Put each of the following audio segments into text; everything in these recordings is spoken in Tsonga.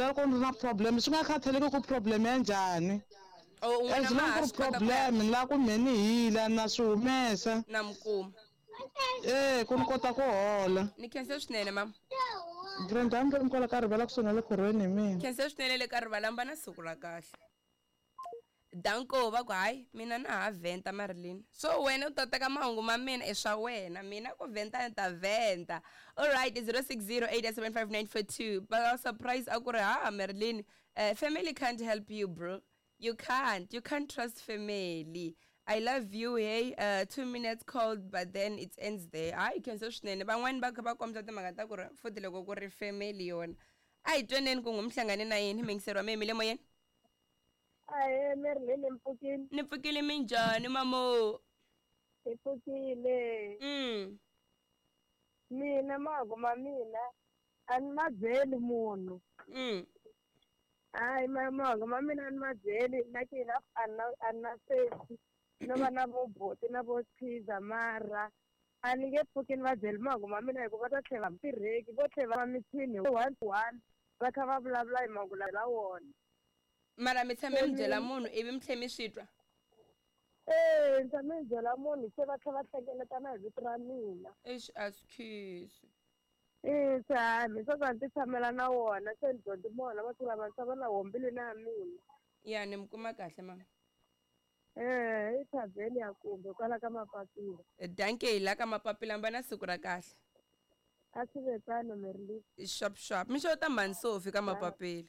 byela loko ni ri na problem swi nga khathaleki ku problem ya njhani. Oh, un'wana As ma long ha ku ri swi kota ku ya problem ni lava ku mhe ni hila na swi humesa. Na mi kuma. E ku ni kota ku hola. Ni khense swinene mama. Brenda mi ri kwala ka rivala kusuhi na le khorweni hi mina. Khense swinene le ka rivala mi va na siku ra kahle. Danko va ku hayi mina na ha vhenta Marilyn. So wena u ta teka mahungu ma mina i swa wena mina ku vhenta ni ta vhenta. Alright 06087594 2 va surprise a ku ri ha Marilyn family can't help you bro. You can't. You can't trust family. I love you hey 2 minutes cold but then it ends there. Hayi khense swinene van'wani va kha va kombisa timhaka ta ku ri futhi loko ku ri family yona. A hi tweneni ku n'wi mi hlangane na yini miyingiseri wa mehe mi le moyeni. Ahee Marilyn ni pfukile. Ni pfukile minjhani mamo? Hi pfukile. Mina mahungu ma mina a ni ma byeli munhu. Hayi mahungu ma mina a ni ma byeli na ki enough a na a na sesi no va na vo buti na vo pizza mara a ni nge pfuki ni va byeli mahungu ma mina hikuva va ta tlhela va tirheki vo tlhela va mithini one to one va kha va vulavula hi mahungu lawa wona. Mara mi tshame mi byela munhu ivi mi tlhe mi swi twa? Ee, ni tshame ni byela munhu se va tlhela va hlengeletana hi vito ra mina. Eish a swi khisi. E se hayi mi swa ku a ni ti tshamela na wona se ni dyondze mona masiku lama ni tshama na wona mbilwini ya mina. Ya ni mi kuma kahle mama. E i thavheni ya kumbe kwala ka mapapila. Dankie la ka mapapila mi va na siku ra kahle. A swi ve tano Marilyn. Xap xap. Mi xeweta mhani Sophie ka mapapila.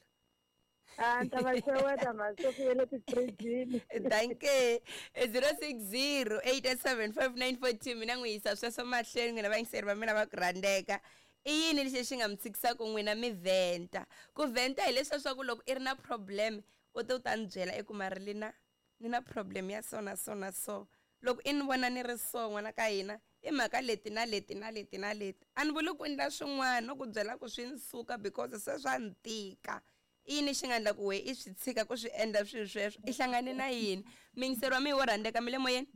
A ni ta va xeweta mhani Sophie ya le tifirijini. Dankie. 0608875942 mina n'wi yisa sweswo mahlweni n'wina vayingiseri va mina va ku rhandzeka. I yini lexi xi nga mi tshikisaka n'wina mi vhenta? Ku vhenta hi leswiya swa ku loko i ri na problem u te u ta ni byela i ku Marilyn ni na problem ya so na so na so. Loko i ni vona ni ri so n'wana ka hina i mhaka leti na leti na leti na leti. A ni vuli ku endla swin'wana no ku byela ku swi ni suka because se swa ni tika. I yini xi nga endla ku we i swi tshika ku swi endla swilo sweswo? I hlangane na yini? Miyingiseri wa mina wo rhandzeka mi le moyeni?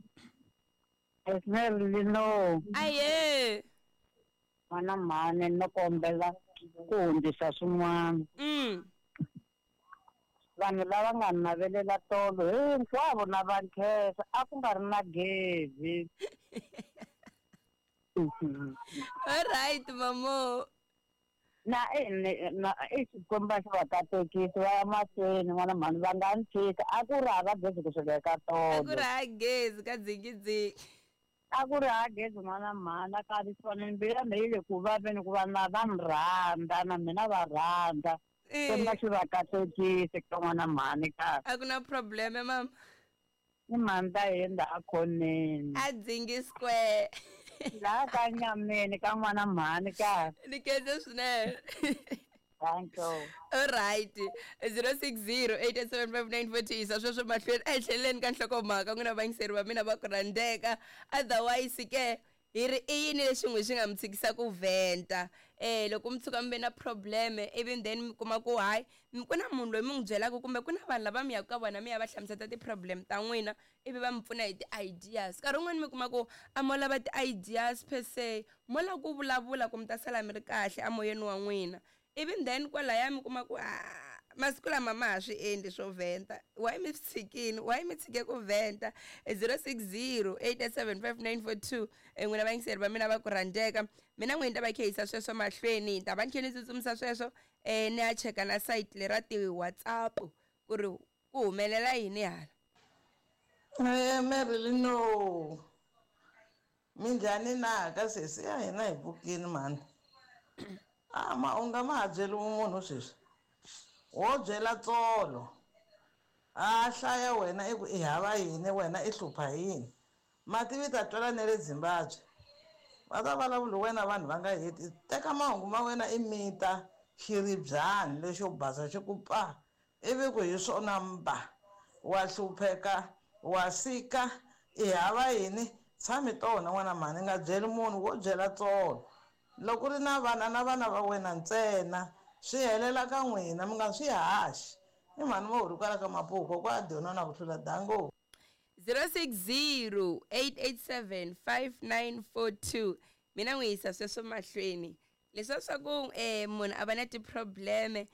Marilyn no. Ahee. N'wana mhani no kombela ku hundzisa swin'wana. Vanhu lava nga ni navelela tolo hinkwavo na va nkhensa a ku nga ri na gezi. All right mamo. Na na i Xikwembu xi va katekisi va ya mahlweni n'wana mhani va nga ni tshika a ku ri hava gezi kusuka eka A ku ri tolo. hava gezi ka dzingidzingi. A ku ri hava gezi n'wana mhani a ka mbilu ya mina yi le ku vaveni ku va na va ni rhandza na mina va rhandza. Xikwembu xi va katekisi ka n'wana mhani ka. A ku na problem mama. Ni mhani ta hina a khoneni. A dzingi square. Laha ka nyameni ka n'wana mhani ka. Ni khense swinene. Thank you. All right. 0608875942 yisa sweswo mahlweni a hi tlheleleni ka nhlokomhaka n'wina vayingiseri va mina va ku rhandzeka. Otherwise ke hi ri i yini lexi n'wi xi nga mi tshikisa ku vhenta? Loko mi tshuka mi ve na problem ivi then mi kuma ku hayi ku na munhu loyi mi n'wi byelaka kumbe ku na vanhu lava mi yaka ka vona mi ya va hlamusela ti-problem ta n'wina ivi va mi pfuna hi ti-ideas. Nkarhi wun'wani mi kuma ku a mo lava ti-ideas per se mo lava ku vulavula ku mi ta sala mi ri kahle emoyeni wa n'wina. Ivi then kwalaya mi kuma ku masiku lama ma ha swi endli swo vhenta. Why mi swi tshikini? Why mi tshike ku vhenta? 0608875942 n'wina vayingiseri va mina va ku rhandzeka. Mina n'wini ta va khehisa sweswo mahlweni ni ta va ni tlhela ni tsutsumisa sweswo ni ya cheka na site lera ti-WhatsApp ku ri ku humelela yini hala. Marilyn no. Minjhani na ka sesi ya hina hi pfukile mhani. A ma u nga ma ha byeli munhu sweswi. Wo byela tsolo. A hlaya wena i ku i hava yini wena i hlupha yini. Mativi ta twela ne le Zimbabwe. Va ta vulavula wena vanhu va nga heti. Teka mahungu ma wena i mita xiribyani lexo basa xi ku pa. Ivi ku hi swona mba. Wa hlupheka, wa sika, i hava yini. Tshami tona n'wana mhani nga byeli munhu wo byela tsolo. Loko ri na vana na vana va wena ntsena swi helela ka n'wina mi nga swi haxi. I mhani mo huri kwala ka Mapuku kwa dyona na ku hlula dango. 0608875942 mina n'wi yisa sweswo mahlweni. Leswiya swa ku munhu a va na ti-problem